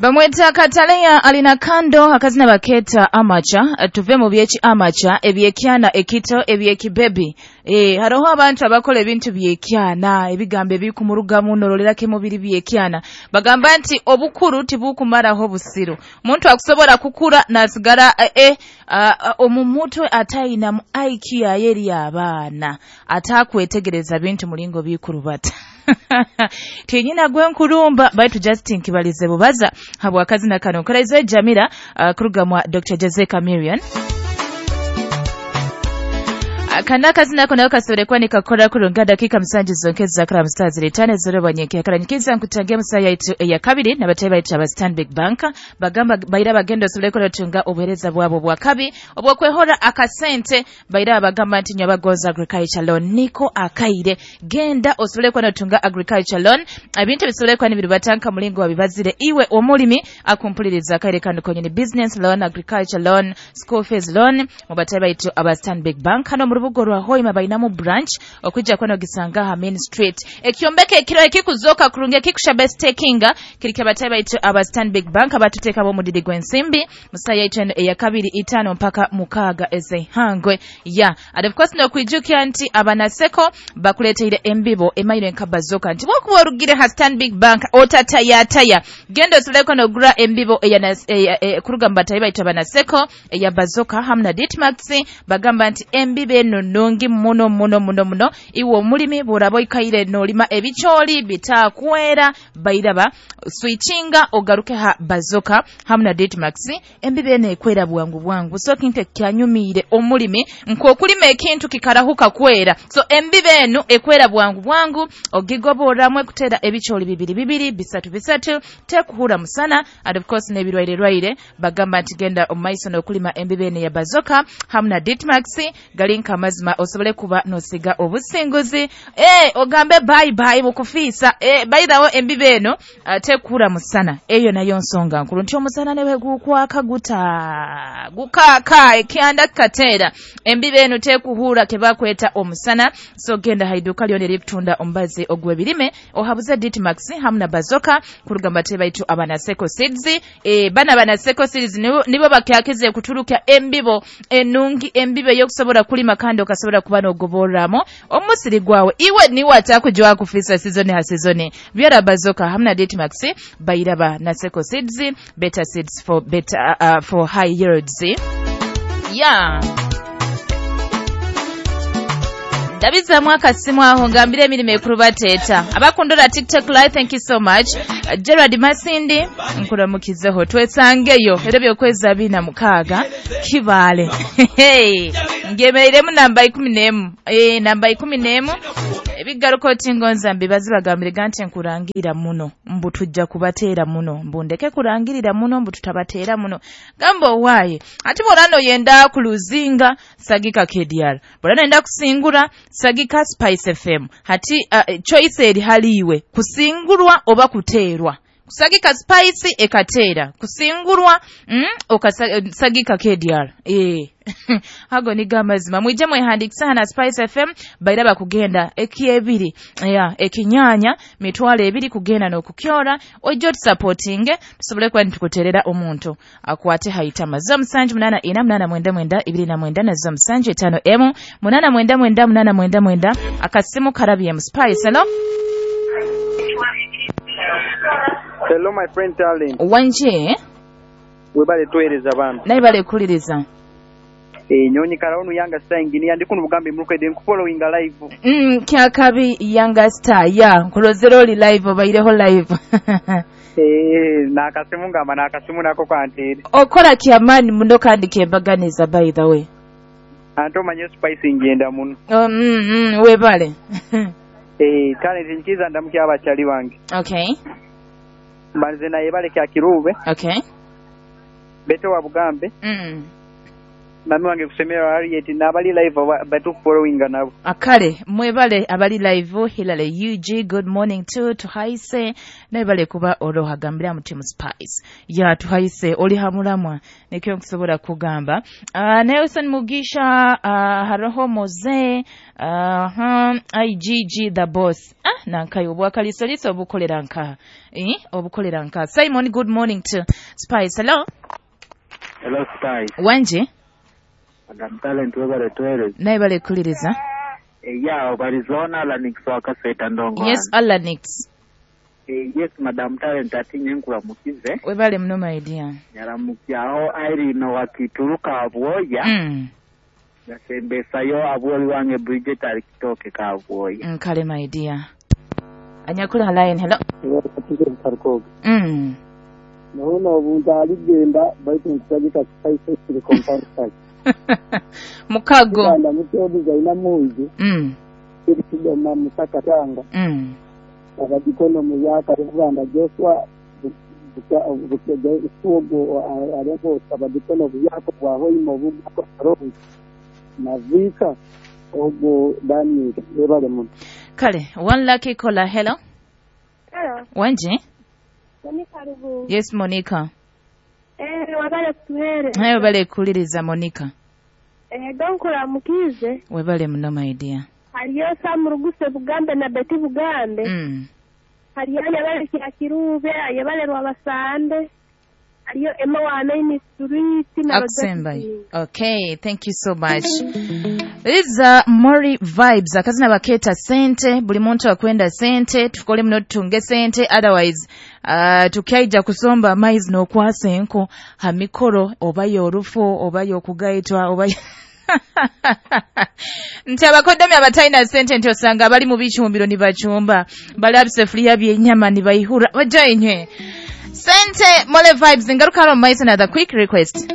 Bamweta Kataleya alina kando akazina baketa amacha. Tuve mu byeki amacha ebyekyana ekito ebyekibebi. Haroho abantu abakola ebintu byekyana, ebigambo ebikumurugamu norolera mubiri byekyana. Bagamba nti obukuru tibukumaraho busiru. Muntu akusobola kukura nasigara omumutwe atayina mu IQ yeri abaana atakwetegereza bintu mulingo bikurubata. Tinyina gwe nkurumba baitu Justin Kibalize bubaza habwakazina kano Karaizo Jamila kuruga mwa Dr. Jose Chameleone. Kana kazina ko nayo kasorekwa nikakora kurunga dakika 7 zonke zakara mstars litane zero banyeke akaranyikiza nkutangia musaya itu ya kabiri nabatayi baitu aba Stanbic Bank bagamba baira bagenda osobole kutunga obuhereza bwabo bwa kabi obwokwehora akasente baira bagamba nti nyabagoza agriculture loan niko akaire genda osobole kutunga agriculture loan ebintu bisobole ni birubatanka mulingo wabibazire iwe omulimi akumpuliriza akaire kanu konyene business loan, agriculture loan, school fees loan mubatayi baitu aba Stanbic Bank hano mu rubuga rwa Hoima bainamu branch okujja kwano gisanga ha Main Street ekyombeke ekiro ekikuzoka kurungi ekikusha stakinga kirike batayi baitu aba Stanbic Bank abatuteka bo mudidi gwensimbi musaya itendo eya 2 5 mpaka 6 ezehangwe ya and of course no kwijukia nti abanaseko bakuleteire embibo emaire nkabazoka nti wokuba orugire ha Stanbic Bank otatayataya gendo suleko no gura embibo eya kuruga mbatayi baitu abanaseko eya bazoka hamna Ditmax bagamba nti embibo eno nungi muno muno muno muno iwo mulimi burabo ikaire nolima ebicholi bitakwera bairaba switchinga ogaruke ha bazoka hamna Ditmax embibe ene ekwera bwangu bwangu so kinte kyanyumire omulimi nkokulima ekintu kikarahuka kwera so embibe enu ekwera bwangu bwangu ogigoboramwe kutera ebicholi bibiri bibiri bisatu bisatu tekuhura musana and of course nebirwaire rwaire bagamba nti genda omaiso nokulima embibe ene ya bazoka hamna Ditmax galinka mazima osobole kuba nosiga obusinguzi ogambe bye bye mukufisa by the way embibe eno tekura musana eyo nayo nsonga nkulu nti omusana newe gukwaka guta gukaka ekyanda katera embibe eno tekuhura kebakweta omusana so genda haiduka lyone liptunda ombazi ogwe birime ohabuze Ditmax hamna bazoka kurugamba tebaitu abanaseko seeds bana banaseko seeds nibo bakyakize kuturuka embibo enungi embibe yokusobola kulima kandi okasobola kuba nogoboramo omusiri gwawe iwe niwe atakujwa kufisa season ha season byara bazoka hamna Ditmax bairaba naseko seeds better seeds for better for high yields. Yeah. Dabiza mwaka simu aho ngambire emirimo ekurubateta abakundora TikTok live, thank you so much. Gerard Masindi nkuramukizeho twesangeyo era byokweza 26 kibale hey ngemeiremu namba 11 namba 11 ebigaruko tingonza mbibazi bagambire gante nkurangirira muno mbu tujja kubateera muno mbu ndeke kurangirira muno mbu tutabateera muno gamba owaye ati borano yenda kuluzinga sagika KDR borano yenda kusingura sagika Spice FM hati choice eri haliwe kusingurwa oba kuteerwa kusagika Spice ekateera kusingurwa okasagika KDR hago ni gamazima mwijje mwehandikisa na Spice FM bairaba kugenda ekyebiri ya ekinyanya mitwalo ebiri kugenda nokukyora ojjo supporting tusobole kwa ntukuterera omuntu akwate haitama zo 7 8 8 9 29 na zo 7 5 m 8 9 9 8 9 akasimu karabye mu Spice. Hello. Hello my friend darling. Wanje webale tuwereza bambi naye bale kuliriza nyonyi karaonu Yanga Star engineer ndi kuno bugambe mulukwede nkufollowing live kyakabi Yanga Star ya nkulozero oli live obaireho live nakasimu ngamba nakasimu nako kwantere okola kyamaani muno kandi kyembaganiza by the way ante omanye Spice ngenda muno webale talent nkiza ndamukya abakyali bange okay mbanze naye bale kya kirube okay beto wa bugambe Mami wange kusemera Harriet n'abali live batukufollowinga nabo. Akale mwebale abali live. Hilale UG, good morning to tuhaise naye kuba orohagambira mu Team Spice ya tuhaise oli hamulamwa nikyo nkusobola kugamba. Nelson Mugisha, haroho Moze, IGG the boss, nankayo obwakalisoliso obukolera nka obukolera nka. Simon, good morning to Spice. Hello. Hello Spice. Wanje Madam Talent webale twere. Naye bale kuliriza. Ya obalizona Alanix wakaseta ndongo. Yes Alanix. Yes Madam Talent atinye nkuramukize. Webale muno my dear. Nyaramukyaho Irene wakituruka abwoya. Yasembesayo abwoli wange Bridget alikitoke ka abwoya. Kale my dear. Anyakula line. Hello. Naona obuntu aligenda baitu nkusagika Spice Silicon. Mukago. Kanda mutodi zaina muzi. Kidoma musaka tanga. Abadikono muyaka Rwanda Joshua buke areko abadikono buyako bwaho imobu roho navika ogo Daniel ebale mu. Kale one lucky caller. Hello. Hello. Wanje? Monica Rubu. Yes Monica. Wabale kutuhere. Hayo bale kuliriza Monica. Donkura mukize. Webale muno my dear. Hariyo Samuruguse Bugambe na Betty Bugambe. Hariyo yabale Kirube, yabale Rwabasande. Hariyo Emma wa Main Street na Akusemba. Okay, thank you so much. These Mori vibes akazina baketa sente, buli muntu akwenda sente, tukole muno tutunge sente, otherwise tukaija kusomba amaizi n'okwasa enko ha mikoro oba y'orufu oba y'okugaitwa oba nti abakoddomi abatalina sente nti osanga bali mu bicumbiro ne bacumba bali abisefuliya by'ennyama ne bayihura bajja enywe sente. Mole vibes ngaruka hano mu maiso na the quick request.